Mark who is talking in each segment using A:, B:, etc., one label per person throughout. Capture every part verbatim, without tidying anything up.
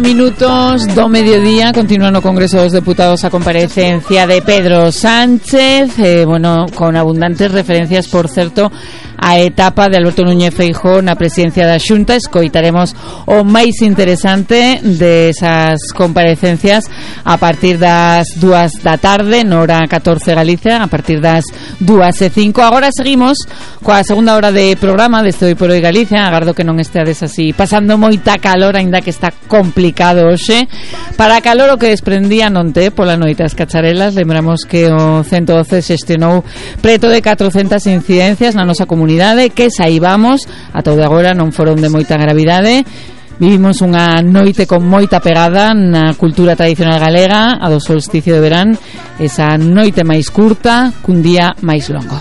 A: Minutos do mediodía, continúa no Congreso dos Deputados a comparecencia de Pedro Sánchez, eh, bueno, con abundantes referencias, por certo, a etapa de Alberto Núñez Feijóo na presidencia da Xunta. Escoitaremos o máis interesante desas comparecencias a partir das dúas da tarde, no hora catorce Galicia, a partir das dúas e cinco. Agora seguimos coa segunda hora de programa deste Hoy por Hoy Galicia. Agardo que non esteades así pasando moita calor, aínda que está complicado hoxe. Para calor o que desprendía non te pola noite as cacharelas. Lembramos que o ciento doce xestionou preto de catrocentas incidencias na nosa comunidade, que saibamos ata o de agora non foron de moita gravidade. Vivimos unha noite con moita pegada na cultura tradicional galega, a do solsticio de verán, esa noite máis curta cun día máis longo.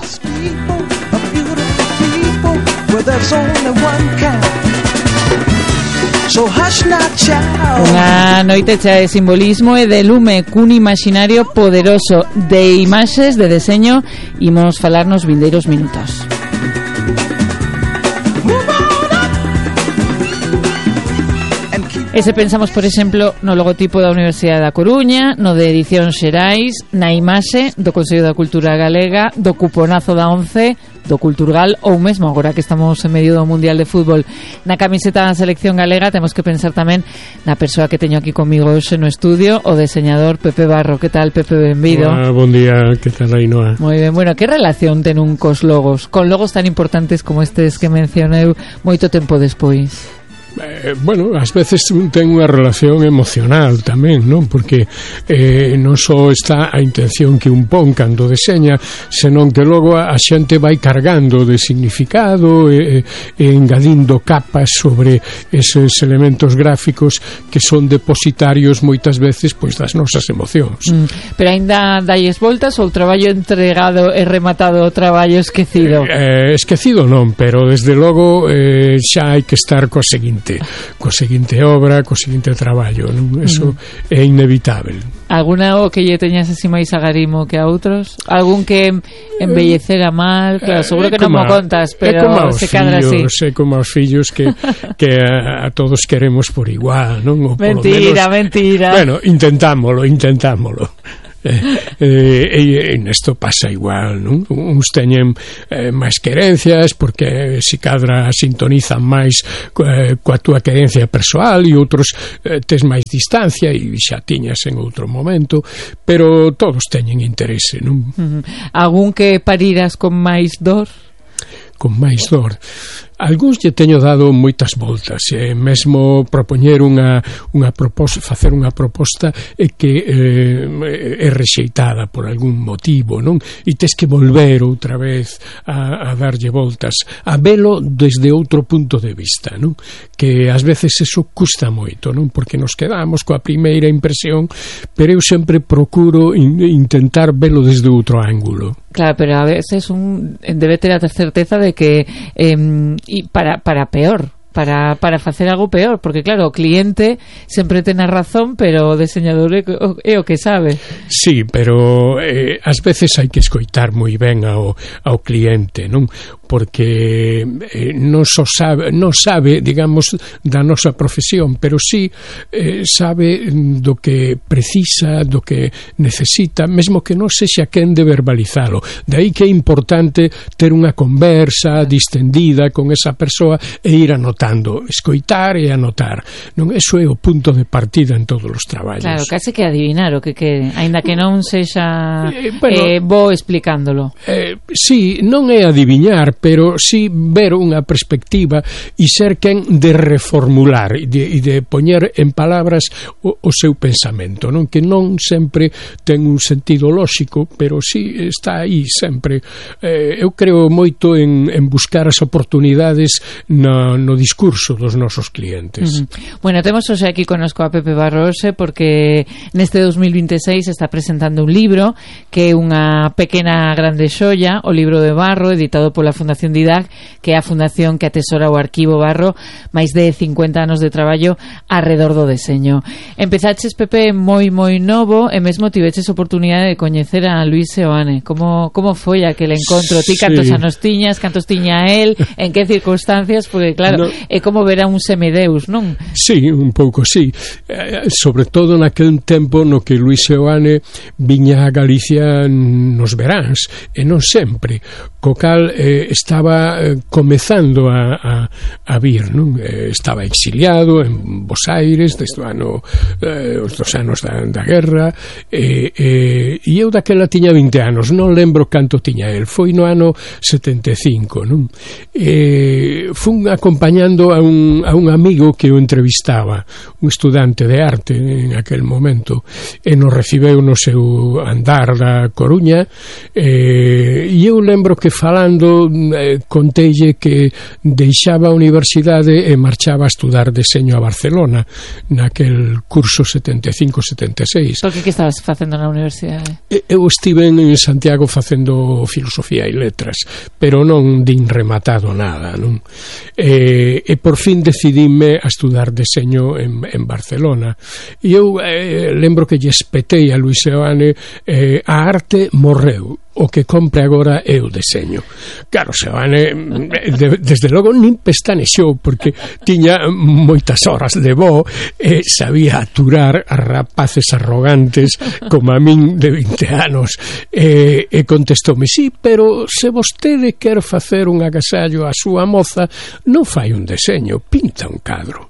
A: Unha noite chea de simbolismo e de lume, cun imaginario poderoso de imaxes, de deseño. Imos falar nos vindeiros minutos. E se pensamos, por exemplo, no logotipo da Universidade da Coruña, no de Edicións Xerais, na imaxe do Consello da Cultura Galega, do cuponazo da once, do Culturgal, ou mesmo agora que estamos en medio do Mundial de Fútbol, na camiseta da Selección Galega, temos que pensar tamén na persoa que teño aquí comigo hoxe no estudio, o deseñador Pepe Barro. Que tal, Pepe? Benvido.
B: Hola, bon día, que tal, Ainhoa?
A: Moi ben, bueno, que relación ten un cos logos, con logos tan importantes como estes que mencionei moito tempo despois?
B: Eh, bueno, ás veces ten unha relación emocional tamén, non? Porque eh, non só está a intención que un pon cando deseña, senón que logo a xente vai cargando de significado e, e engadindo capas sobre eses elementos gráficos que son depositarios moitas veces pois das nosas emocións.
A: Mm, pero aínda dalles voltas ou o traballo entregado e rematado, o traballo esquecido?
B: Eh, eh, esquecido non, pero desde logo eh, xa hai que estar coa seguinte coa seguinte obra, co seguinte traballo, non? Eso uh-huh. é inevitable.
A: Alguna o que lle teñas así máis agarimo que a outros? Algún que embellecera mal? Claro, seguro que non mo contas, pero se cadra así.
B: É como aos fillos que, que a, a todos queremos por igual, non? O
A: mentira,
B: menos,
A: mentira.
B: Bueno, intentámolo, intentámolo. Eh, eh, e nesto pasa igual, non? Uns teñen eh, máis querencias porque si cadra sintonizan máis eh, coa túa querencia persoal, e outros eh, tes máis distancia e xa tiñas en outro momento, pero todos teñen interese, non?
A: Uh-huh. Algún que pariras con máis dor?
B: Con máis dor. Algúns lle teño dado moitas voltas, e mesmo propoñer unha, unha proposta, facer unha proposta e que eh, é rexeitada por algún motivo, non? E tes que volver outra vez a, a darlle voltas, a velo desde outro punto de vista, non? Que ás veces eso custa moito, non? Porque nos quedamos coa primeira impresión, pero eu sempre procuro in, intentar velo desde outro ángulo.
A: Claro, pero a veces un debe ter a certeza de que eh, e para, para peor, para, para facer algo peor, porque claro, o cliente sempre ten a razón, pero o diseñador é, é o que sabe.
B: Sí, pero eh, ás veces hai que escoitar moi ben ao, ao cliente, non? Porque eh, non só sabe, non sabe, digamos, da nosa profesión, pero sí eh, sabe do que precisa, do que necesita, mesmo que non sexa quen de verbalizalo. De aí que é importante ter unha conversa distendida con esa persoa e ir anotando, escoitar e anotar. Non, eso é o punto de partida en todos os traballos.
A: Claro, case que adivinar o que quere, aínda que non sexa eh, bueno, eh, bo explicándolo.
B: Eh, sí, non é adivinar, pero sí ver unha perspectiva e ser quen de reformular e de, de poñer en palabras o, o seu pensamento, non? Que non sempre ten un sentido lóxico, pero sí está aí sempre. Eh, eu creo moito en, en buscar as oportunidades no, no discurso dos nosos clientes.
A: Uh-huh. Bueno, temos hoxe aquí conosco a Pepe Barrose porque neste dos mil vinte e seis está presentando un libro que é unha pequena grande xoia, o libro de Barro, editado pola Fundación Didac, que é a fundación que atesora o arquivo Barro, máis de cincuenta anos de traballo arredor do deseño. Empezaches, Pepe, moi moi novo e mesmo tiveches oportunidade de coñecer a Luis Seoane. Como, como foi aquel encontro? Ti cantos
B: sí.
A: anos tiñas, cantos tiña él, en que circunstancias? Porque claro, no. é como ver a un semideus, non?
B: Sí, un pouco, sí. Eh, sobre todo naquel tempo no que Luis Seoane viña a Galicia nos veráns, e non sempre, co cal eh, estaba eh, comezando a, a, a vir, non? Eh, estaba exiliado en Bos Aires desde o ano, eh, os dos anos da, da guerra, e eh, eh, eu daquela tiña vinte anos, non lembro canto tiña el, foi no ano setenta e cinco, non? Eh, fun acompañando a un, a un amigo que o entrevistaba, un estudante de arte en aquel momento, e nos recibeu no seu andar da Coruña, eh, e eu lembro que falando eh, conteille que deixaba a universidade e marchaba a estudar deseño a Barcelona naquel curso setenta e cinco setenta e seis.
A: Por que que estabas facendo na universidade?
B: Eu estive en Santiago facendo filosofía e letras, pero non din rematado nada, non? E, e por fin decidime a estudar deseño en, en Barcelona. E eu eh, lembro que lle espetei a Luis Seoane, eh, a arte morreu, o que compre agora é o deseño. Claro, Seoane de, desde logo nin pestanexou, porque tiña moitas horas de voo e sabía aturar a rapaces arrogantes como a min de vinte anos, e, e contestoume: sí, pero se vostede quer facer un agasallo a súa moza, non fai un deseño, pinta un cadro.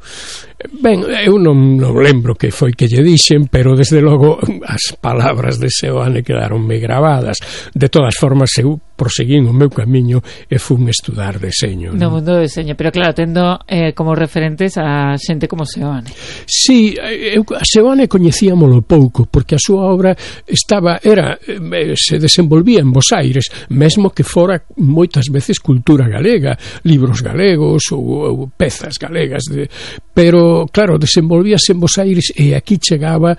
B: Ben, eu non, non lembro que foi que lle dixen, pero desde logo as palabras de Seoane quedaronme gravadas. De todas formas, eu proseguín o meu camiño e fun estudar deseño.
A: No mundo do deseño, pero claro, tendo eh, como referentes a xente como Seoane.
B: Sí, eu a Seoane coñecíamolo pouco, porque a súa obra estaba, era, eh, se desenvolvía en Bos Aires, mesmo que fora moitas veces cultura galega, libros galegos ou, ou pezas galegas, de, pero claro, desenvolvíase en Bos Aires e aquí chegaba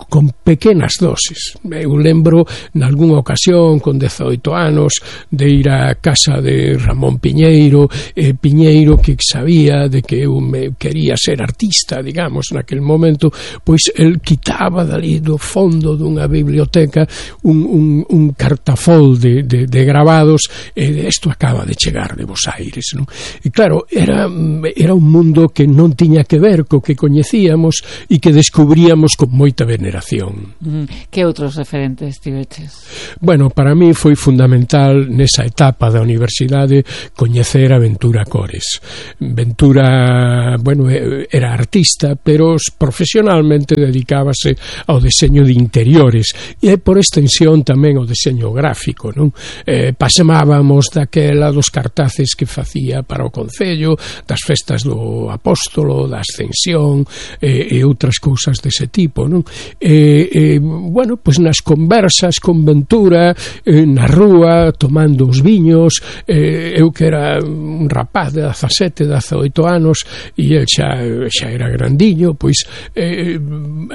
B: con pequenas doses. Eu lembro nalgúnha ocasión con dezoito anos de ir á casa de Ramón Piñeiro, e Piñeiro, que sabía de que eu me quería ser artista, digamos, naquel momento, pois el quitaba dali do fondo dunha biblioteca un, un, un cartafol de, de, de grabados, e isto acaba de chegar de Bos Aires, non? E claro, era, era un mundo que non tiña que ver co que coñecíamos e que descubríamos con moita veneración.
A: Mm, que outros referentes tiveches?
B: Bueno, para mí foi fundamental nesa etapa da universidade coñecer a Ventura Cores. Ventura, bueno, era artista, pero profesionalmente dedicábase ao deseño de interiores e por extensión tamén ao deseño gráfico, non? Eh, pasemábamos daquela dos cartaces que facía para o Concello, das festas do Apóstolo, da Ascensión e, e outras cousas dese tipo, non? E, e, bueno, pois nas conversas con Ventura, eh, na rúa, tomando os viños, eh, eu que era un rapaz de dezasete, dezoito anos e el xa, xa era grandiño, pois eh,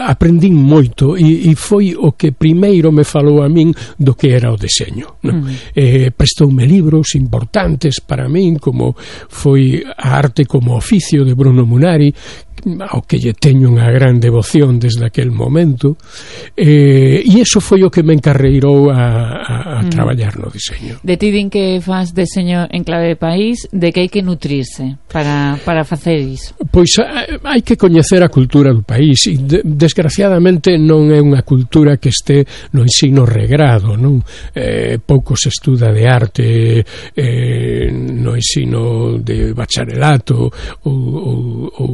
B: aprendín moito e, e foi o que primeiro me falou a min do que era o deseño, non? Mm. Eh, prestoume libros importantes para min, como foi A arte como oficio de Bruno Munari, ao que lle teño unha gran devoción desde aquel momento, eh, e iso foi o que me encarreirou a, a, a mm. traballar no deseño.
A: De ti din que faz deseño en clave de país, de que hai que nutrirse para, para facer iso?
B: Pois hai que coñecer a cultura do país, e de, desgraciadamente non é unha cultura que este no ensino regrado, non? Eh, pouco se estuda de arte eh, no ensino de bacharelato ou, ou, ou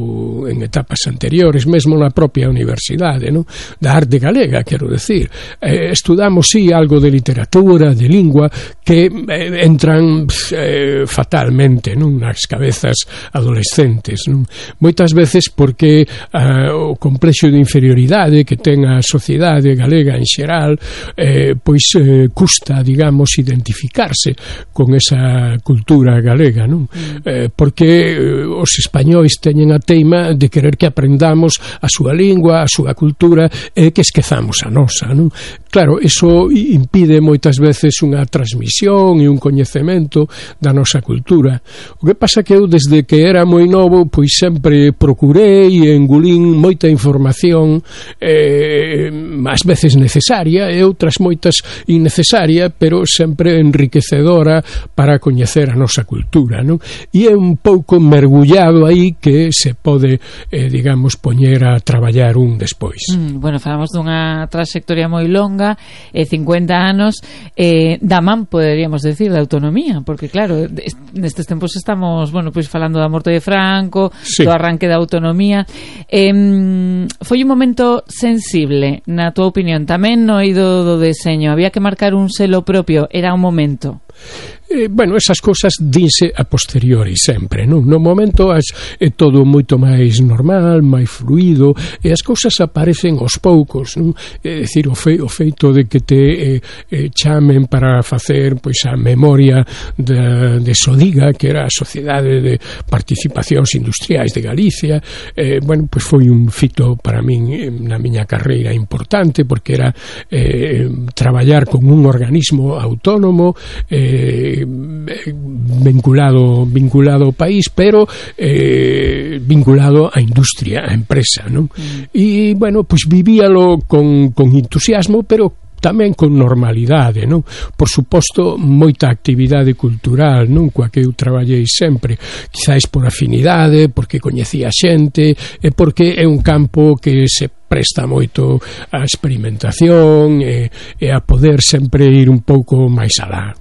B: en etapas anteriores, mesmo na propia universidade, non? Da arte galega, quero decir. Eh, estudamos, sí, algo de literatura, de lingua, que eh, entran eh, fatalmente, non? Nas cabezas adolescentes, non? Moitas veces porque eh, o complexo de inferioridade que ten a sociedade galega en xeral, eh, pois eh, custa, digamos, identificarse con esa cultura galega, non? Eh, porque eh, os españois teñen a teima de querer que aprendamos a súa lingua, a súa cultura, e que esquezamos a nosa, non? claro, iso impide moitas veces unha transmisión e un coñecemento da nosa cultura. O que pasa que eu desde que era moi novo pois sempre procurei e engulín moita información, eh, ás veces necesaria e outras moitas innecesaria, pero sempre enriquecedora para coñecer a nosa cultura, non? E é un pouco mergullado aí que se pode, eh, digamos, poñer a traballar un despois.
A: Mm, bueno, falamos dunha trayectoria moi longa, eh, cincuenta anos, eh, da man, poderíamos decir, da autonomía, porque claro, nestes tempos estamos, bueno, pois falando da morte de Franco, sí, do arranque da autonomía. Eh, foi un momento sensible, na túa opinión, tamén no eido do deseño, había que marcar un selo propio, era un momento?
B: Eh, bueno, esas cousas dinse a posteriori sempre, non? No momento as, é todo moito máis normal, máis fluido, e as cousas aparecen aos poucos, non? É dicir, o, fe, o feito de que te eh, eh, chamen para facer pois a memoria de, de Sodiga, que era a Sociedade de Participacións Industriais de Galicia, eh, bueno, pois foi un fito para min na miña carreira importante, porque era eh, traballar con un organismo autónomo, eh, vinculado vinculado ao país, pero eh, vinculado á industria, á empresa, non? Mm. E, bueno, pois vivíalo con, con entusiasmo, pero tamén con normalidade, non? Por suposto, moita actividade cultural, non? Coa que eu traballei sempre, quizáis por afinidade, porque coñecía xente, e porque é un campo que se presta moito a experimentación e, e a poder sempre ir un pouco máis alá.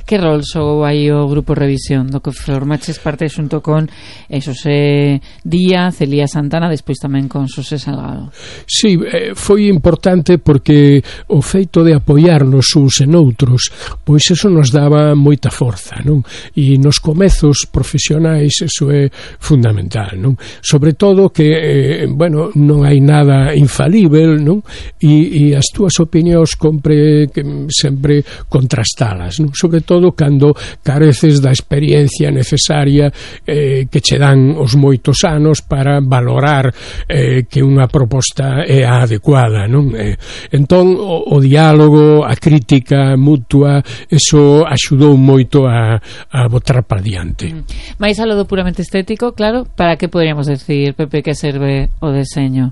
A: Que rol xogou aí o Grupo Revisión, do que formaches parte xunto con eh, Xosé Díaz, Elías Santana, despois tamén con Xosé Salgado?
B: Sí, eh, foi importante porque o feito de apoiarnos uns en outros, pois eso nos daba moita forza, non? E nos comezos profesionais eso é fundamental, non? Sobre todo que, eh, bueno, non hai nada infalível, non? E, e as túas opinións compre que sempre contrastalas, non? Sobre todo cando careces da experiencia necesaria eh, que che dan os moitos anos para valorar eh, que unha proposta é a adecuada, non? Eh, entón, o, o diálogo, a crítica mutua, eso axudou moito a, a botar para diante.
A: Mm. Mais a lo do puramente estético, claro, para que poderíamos decir, Pepe, que serve o deseño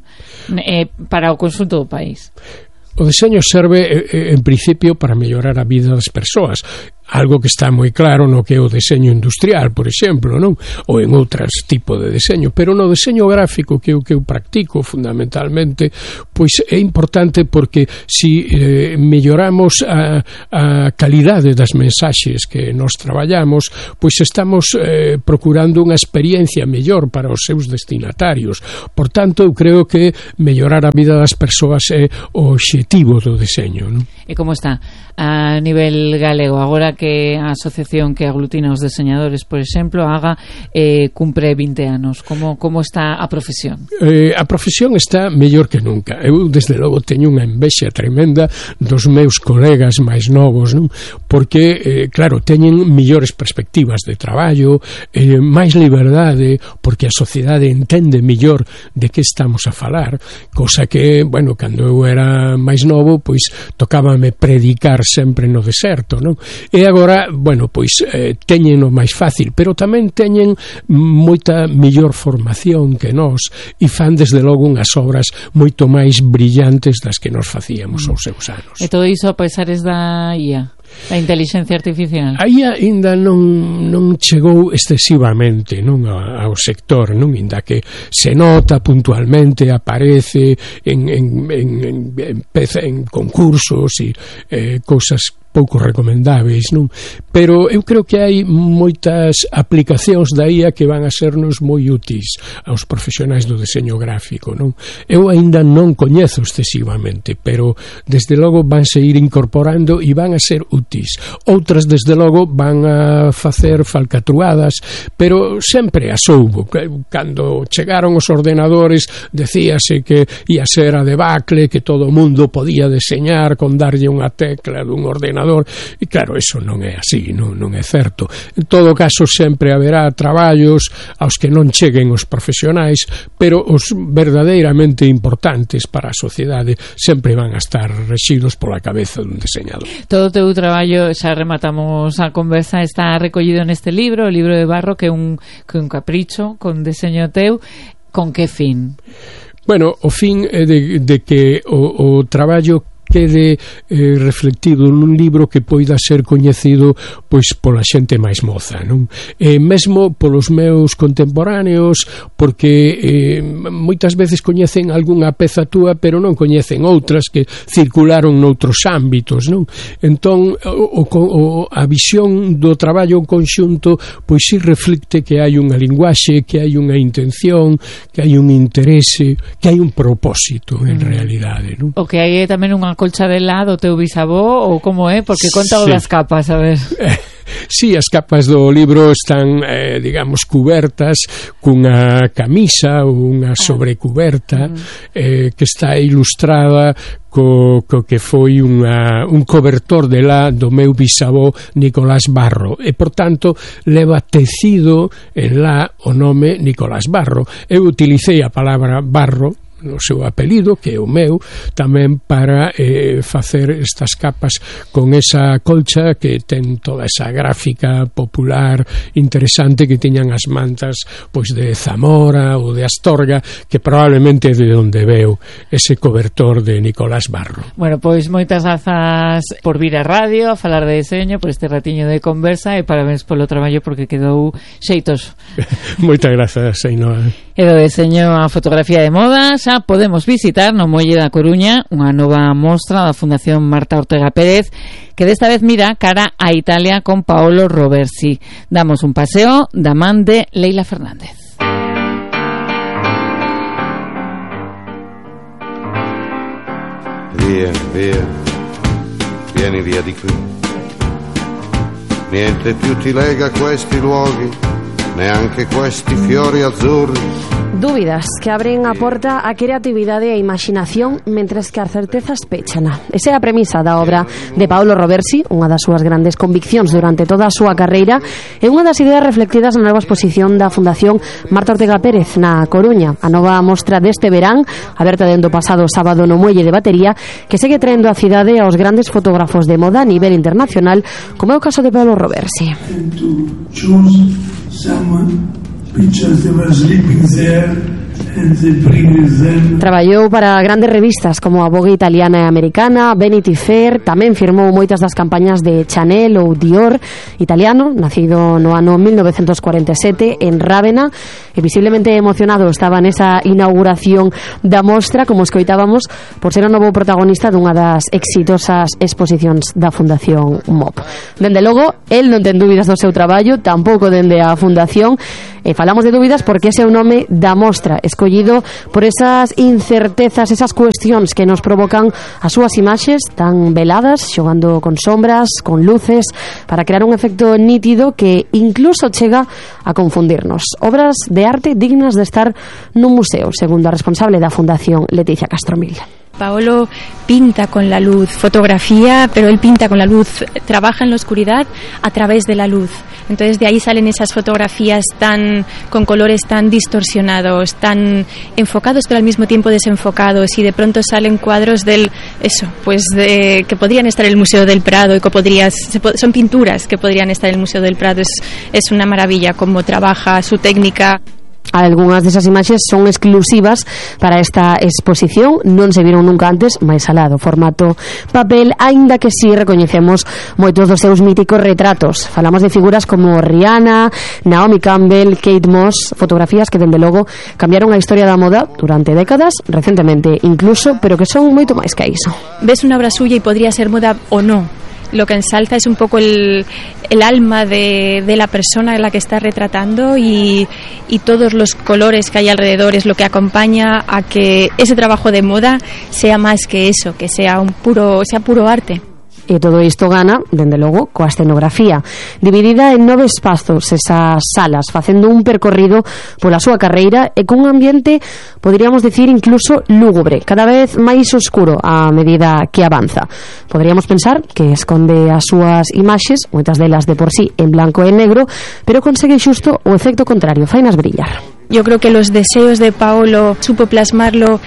A: eh, para o conxunto do país?
B: O deseño serve, en principio, para mellorar a vida das persoas. Algo que está moi claro no que é o deseño industrial, por exemplo, non? Ou en outros tipos de deseño, pero no deseño gráfico que eu, que eu practico fundamentalmente, pois é importante porque si eh, melloramos a, a calidade das mensaxes que nos traballamos, pois estamos eh, procurando unha experiencia mellor para os seus destinatarios. Por tanto, eu creo que mellorar a vida das persoas é o obxectivo do deseño, non?
A: E como está a nivel galego agora que a asociación que aglutina os deseñadores, por exemplo, haga eh, cumpre vinte anos? Como, como está a profesión?
B: Eh, a profesión está mellor que nunca. Eu, desde logo, teño unha envexa tremenda dos meus colegas máis novos, non? Porque, eh, claro, teñen millores perspectivas de traballo, eh, máis liberdade, porque a sociedade entende mellor de que estamos a falar, cosa que, bueno, cando eu era máis novo, pois tocábame predicar sempre no deserto, non? E agora, bueno, pois eh, teñen o máis fácil, pero tamén teñen moita mellor formación que nós e fan desde logo unhas obras moito máis brillantes das que nos facíamos aos seus anos.
A: E todo iso a pesares da I A? A inteligencia artificial?
B: Aí ainda non, non chegou excesivamente, non, ao sector, non, ainda que se nota puntualmente, aparece en, en, en, en, en concursos e eh, cousas pouco recomendáveis, non? Pero eu creo que hai moitas aplicacións da I A que van a sernos moi úteis aos profesionais do deseño gráfico, non? Eu aínda non coñezo excesivamente, pero desde logo vanse ir incorporando e van a ser úteis. Outras, desde logo, van a facer falcatruadas, pero sempre as houbo. Cando chegaron os ordenadores, decíase que ia ser a debacle, que todo o mundo podía deseñar con darlle unha tecla dun ordenador diseñador, e claro, eso non é así, non, non é certo. En todo caso, sempre haberá traballos aos que non cheguen os profesionais, pero os verdadeiramente importantes para a sociedade sempre van a estar rexidos pola cabeza dun diseñador.
A: Todo o teu traballo, xa rematamos a conversa, está recollido neste libro, o libro de Barro, que é un, que un capricho con deseño teu. Con que fin?
B: Bueno, o fin é de, de que o, o traballo quede eh, reflectido nun libro que poida ser coñecido pois pola xente máis moza, non? E mesmo polos meus contemporáneos, porque eh, moitas veces coñecen algunha peza túa, pero non coñecen outras que circularon noutros ámbitos, non? Entón, o, o, a visión do traballo en conxunto pois si reflecte que hai unha linguaxe, que hai unha intención, que hai un interese, que hai un propósito en mm. realidade, non?
A: O que hai tamén unha colcha de lá do teu bisavó, ou como é? Porque conta o sí. das capas, a ver.
B: Eh, sí, as capas do libro están, eh, digamos, cubertas cunha camisa ou unha sobrecuberta ah. eh, que está ilustrada co, co que foi unha, un cobertor de lá do meu bisavó Nicolás Barro, e por tanto leva tecido en lá o nome Nicolás Barro. Eu utilicei a palabra barro no seu apelido, que é o meu, tamén para eh, facer estas capas con esa colcha que ten toda esa gráfica popular interesante que tiñan as mantas pois de Zamora ou de Astorga, que probablemente é de onde veu ese cobertor de Nicolás Barro.
A: Bueno, pois moitas grazas por vir a radio a falar de deseño, por este ratiño de conversa, e parabéns polo traballo porque quedou xeitoso.
B: Moitas grazas, Ainhoa.
A: E do deseño a fotografía de moda xa podemos visitar no Muelle da Coruña unha nova mostra da Fundación Marta Ortega Pérez, que desta vez mira cara a Italia con Paolo Roversi. Damos un paseo da man de Leila Fernández.
C: Via, via, vieni via di qui. Niente più ti lega a questi luoghi, neanche questi fiori azzurri.
D: Dúbidas que abren a porta á creatividade e a imaginación, mentres que as certezas péchana. Esa é a premisa da obra de Paolo Roversi, unha das súas grandes conviccións durante toda a súa carreira, e unha das ideas reflectidas na nova exposición da Fundación Marta Ortega Pérez na Coruña, a nova mostra deste verán, aberta dende o pasado sábado no Muelle de Batería, que segue traendo a cidade aos grandes fotógrafos de moda a nivel internacional, como é o caso de Paolo Roversi. Traballou para grandes revistas como a Vogue italiana e americana, Vanity Fair, tamén firmou moitas das campañas de Chanel ou Dior. Italiano, nacido no ano mil novecentos cuarenta e sete en Rávena, e visiblemente emocionado estaba nesa inauguración da mostra, como escoitábamos, por ser o novo protagonista dunha das exitosas exposicións da Fundación M O P. Dende logo, el non ten dúbidas do seu traballo, tampouco dende a Fundación, e falamos de dúbidas porque ese é o nome da mostra, escollido por esas incertezas, esas cuestións que nos provocan as súas imaxes tan veladas, xogando con sombras, con luces, para crear un efecto nítido que incluso chega a confundirnos. Obras de arte dignas de estar nun museo, segundo a responsable da Fundación, Leticia Castromil.
E: Paolo pinta con la luz, fotografía, pero él pinta con la luz, trabaja en la oscuridad a través de la luz. Entonces de ahí salen esas fotografías tan con colores tan distorsionados, tan enfocados pero al mismo tiempo desenfocados, y de pronto salen cuadros del eso, pues de, que podrían estar en el Museo del Prado, y que podrías, son pinturas que podrían estar en el Museo del Prado. Es, es una maravilla cómo trabaja, su técnica.
D: Algunhas desas imaxes son exclusivas para esta exposición, non se viron nunca antes, máis alá do formato papel, aínda que si sí recoñecemos moitos dos seus míticos retratos. Falamos de figuras como Rihanna, Naomi Campbell, Kate Moss, fotografías que dende logo cambiaron a historia da moda durante décadas, recentemente incluso, pero que son moito máis que iso.
E: Ves unha obra suya e podría ser moda o no. Lo que ensalza es un poco el, el alma de, de la persona en la que está retratando, y, y todos los colores que hay alrededor es lo que acompaña a que ese trabajo de moda sea más que eso, que sea un puro, sea puro arte.
D: E todo isto gana, dende logo, coa escenografía. Dividida en nove espazos, esas salas, facendo un percorrido pola súa carreira e cun ambiente, poderíamos decir, incluso lúgubre, cada vez máis oscuro a medida que avanza. Poderíamos pensar que esconde as súas imaxes, moitas delas de por sí en blanco e negro, pero consegue xusto o efecto contrario, fainas brillar.
E: Yo creo que los deseos de Paolo supo plasmarlo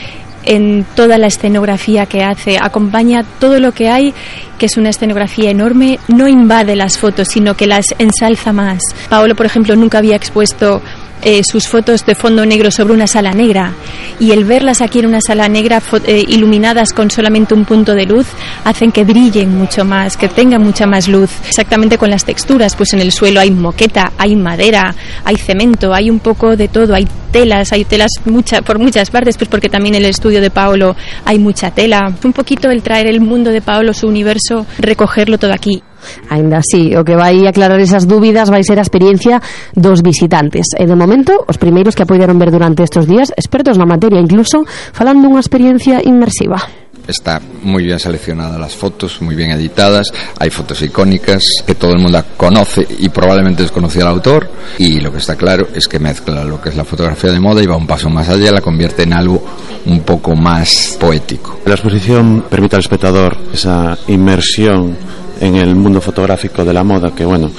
E: en toda la escenografía que hace, acompaña todo lo que hay, que es una escenografía enorme, no invade las fotos, sino que las ensalza más. Paolo, por ejemplo, nunca había expuesto eh, sus fotos de fondo negro sobre una sala negra, y el verlas aquí en una sala negra eh, iluminadas con solamente un punto de luz hacen que brillen mucho más, que tengan mucha más luz. Exactamente con las texturas, pues en el suelo hay moqueta, hay madera, hay cemento, hay un poco de todo, hay telas, hay telas mucha, por muchas partes, pues porque también en el estudio de Paolo hay mucha tela. Un poquito el traer el mundo de Paolo, su universo, recogerlo todo aquí.
D: Ainda así, o que vai aclarar esas dúbidas vai ser a experiencia dos visitantes. E de momento, os primeiros que a poideron ver durante estes días, expertos na materia, incluso falando dunha experiencia inmersiva.
F: Está muy bien seleccionadas las fotos, muy bien editadas, hay fotos icónicas que todo el mundo conoce y probablemente desconocía al autor, y lo que está claro es que mezcla lo que es la fotografía de moda y va un paso más allá, la convierte en algo un poco más poético.
G: La exposición permite al espectador esa inmersión en el mundo fotográfico de la moda que, bueno,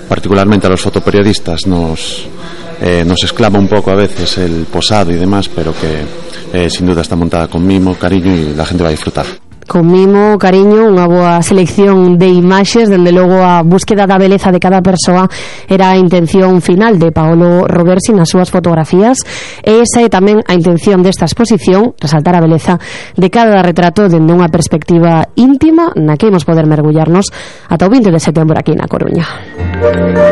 G: particularmente a los fotoperiodistas nos, eh, nos exclama un poco a veces el posado y demás, pero que eh, sin duda está montada con mimo, cariño, y la gente va a disfrutar.
D: Con mimo, cariño, unha boa selección de imaxes, dende logo a búsqueda da beleza de cada persoa era a intención final de Paolo Roversi nas súas fotografías, e esa é tamén a intención desta exposición, resaltar a beleza de cada retrato dende unha perspectiva íntima na que imos poder mergullarnos ata o vinte de setembro aquí na Coruña.